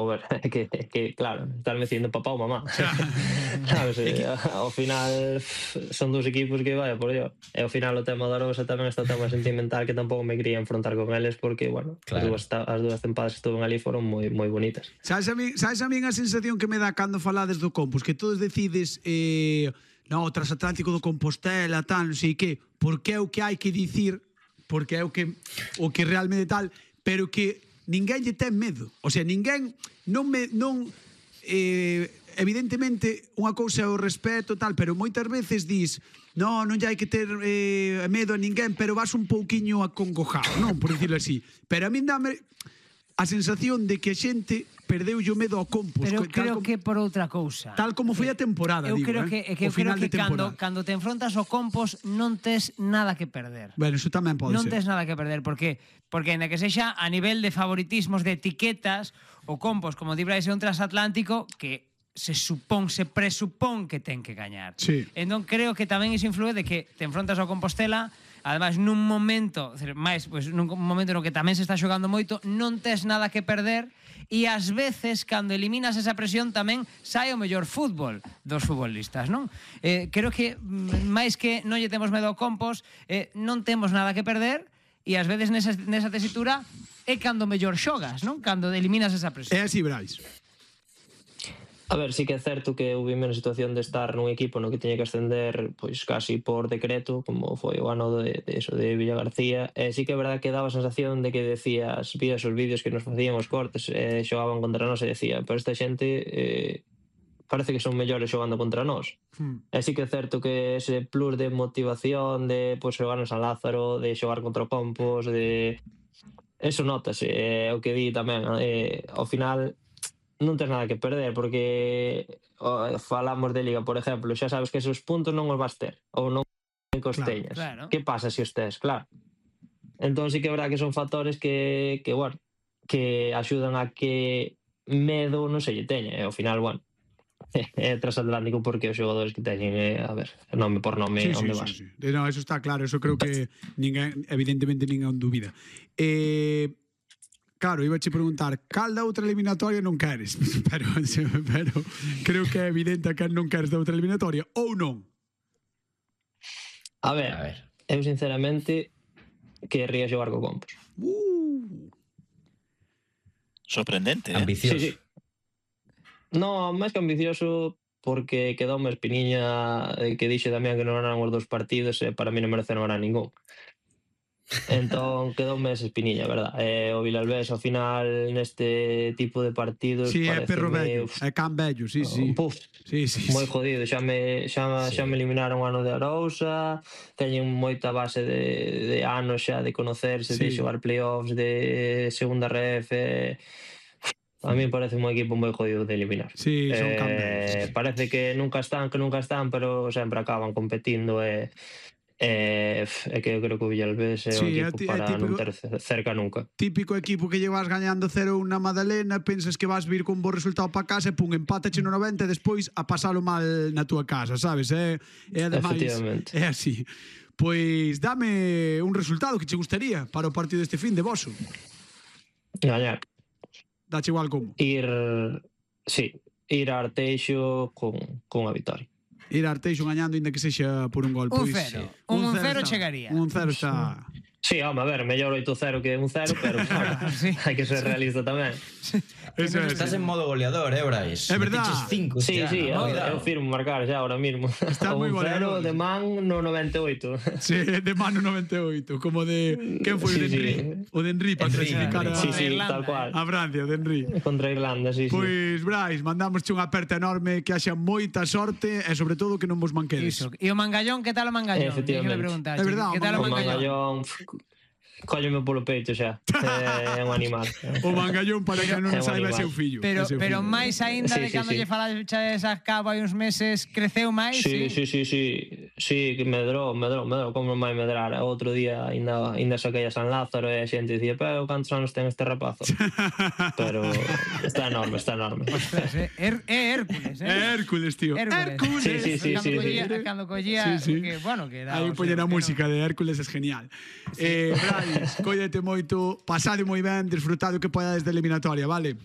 ver, claro, estás metiendo papá ou mamá. Sabes, ao final son dous equipos que, vaya, por Dios. E ao final o tema da Arousa tamén está o tema sentimental que tampouco me quería enfrontar con eles porque, bueno, Claro. as dúas tempadas que estuven ali foron moi bonitas. Sabes a min a sensación que me dá cando falades do Compos, que todos decides no, o transatlántico do Compostela, tal, non sei que, porque é o que hai que dicir, porque é o que realmente tal, pero que ninguén lle ten medo. O sea, ninguén evidentemente unha cousa é o respeto tal, pero moitas veces dis non lle hai que ter medo a ninguén, pero vas un pouquiño acongojado, non, por dicirlo así. Pero a min dame a sensación de que a xente perdeu o medo ao Compos. Pero creo que por outra cousa. Tal como foi a temporada, eu digo, creo que o final de temporada. cando te enfrontas ao Compos non tes nada que perder. Bueno, eso tamén pode non ser. tes nada que perder, porque ainda que sexa a nivel de favoritismos, de etiquetas, o Compos, como di Brais, é un transatlántico que se presupón que ten que gañar. Sí. Entón creo que tamén iso influe de que te enfrontas ao Compostela, además nun momento, nun momento no que tamén se está xogando moito, non tes nada que perder, e ás veces cando eliminas esa presión tamén sai o mellor fútbol dos futbolistas, non? Creo que máis que non lle temos medo ao Compos, non temos nada que perder, e ás veces nesa tesitura é cando mellor xogas, non? Cando eliminas esa presión. É así, Brais. A ver, sí que é certo que houve na situación de estar nun equipo no que tiña que ascender pois casi por decreto, como foi o ano de Villagarcía, e sí que é verdade que daba a sensación de que vías os vídeos que nos facían os cortes, xogaban contra nós e decía, pero esta xente parece que son mellores xogando contra nós. E sí que é certo que ese plus de motivación de xogar en San Lázaro, de xogar contra o Compos, de eso notase, o que di tamén, ao final non tens nada que perder, porque falamos de Liga, por exemplo, xa sabes que esos puntos non os vas ter, ou non que os teñas. Claro. Que pasa se os tes? Claro. Entón sí que é verdad que son factores que bueno, que axudan a que medo non se lle teña, e ao final, bueno, é transatlántico porque os xogadores que teñen, a ver, nome por nome, onde vas. Sí. No, eso está claro, eso creo que evidentemente ninguén dúbida. Claro, iba a che preguntar cal da outra eliminatoria non queres, pero creo que é evidente que non queres da outra eliminatoria, ou non? A ver, eu sinceramente querría xogar co Compos. Sorprendente, ambicioso. Sí. No, máis que ambicioso, porque quedou unha espiniña que dixe Damián que non eran os dos partidos e para mí non merece non ganar ningún. Entón quedoume esa espiniña, verdad? O Vilalbés ao final neste tipo de partidos é perro vello, é can vello, sí. Moi jodido, xa me eliminaron o ano de Arousa, teñen moita base de anos xa de conocerse, de xogar playoffs, de segunda ref, a mí parece un equipo moi jodido de eliminar. Sí, son can vellos. Parece que nunca están, pero sempre acaban competindo e que eu creo que o Villalbés é un equipo para non ter cerca nunca. Típico equipo que llevas gañando 0-1 na Madalena, pensas que vas vir con bo resultado para casa e pum, empátache no 90 e despois a pasalo mal na túa casa, sabes? E ademais é así. Pois dame un resultado que che gustaría para o partido deste fin de voso. Gañar. Dache igual como? Ir a Arteixo con a vitoria. Ir a Arteixo gañando, ainda que sexa por un gol. Un 0 chegaría. Un 0 está... Sí, home, a ver, mellor 8-0 que 1-0, pero claro, hai que ser realista tamén. Estás en modo goleador, Brais? É verdad. Sí, eu firmo marcar xa ahora mismo. Estás moi goleador. 1-0 de man no 98. Sí, de man no 98, como de... Quen foi o de Henry? O de Henry para clasificar a... Sí, tal cual. A Francia, o de Henry. Contra Irlanda, sí. Pois, Brais, mandamosche unha aperta enorme, que haxa moita sorte e sobre todo que non vos manquedes. E o Mangallón, que tal o Mangallón? Efectivamente. É verdad, que tal o Mangallón? Cólleme polo peito xa. É un animal. O Mangallón, para que non saiba, é seu fillo. Pero máis aínda de cando lle falaches a cabo hai uns meses, creceu máis? Sí, que medrou, como non vai medrar. Outro día ainda saquei a San Lázaro e a xente dicía, pero cantos anos ten este rapazo? Pero está enorme. É Hércules, É Hércules, tío. Hércules. Sí. Cando collía, que bueno, que era... Aí poñen a música de Hércules, é genial. Brais, cóllete moito, pasade moi ben, disfrutade o que podades de eliminatoria, vale?